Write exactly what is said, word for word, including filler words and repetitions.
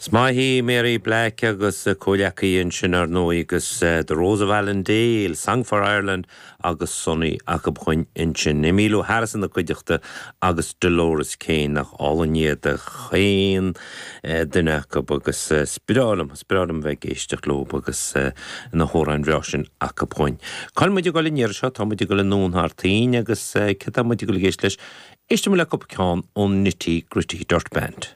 Is maith í Mary Black agus comhleacaí ansin ar ndóigh agus The Rose of Allendale, Song for Ireland agus Sonny acu chuin ansin. Emmylou Harris ina cuideachta agus Dolores Keane nach álainn iad a chaon duine acu agus sprálam sprálam bheith géisteach leo agus na hamhráin bhreá sin acu chuin. Cá muid ag dul an iarraidh seo tá muid ag dul anonn thar toinn agus cad tá muid ag éisteacht leis, Éistfidh le cúpla ceann ón Nitty Gritty Dirt Band.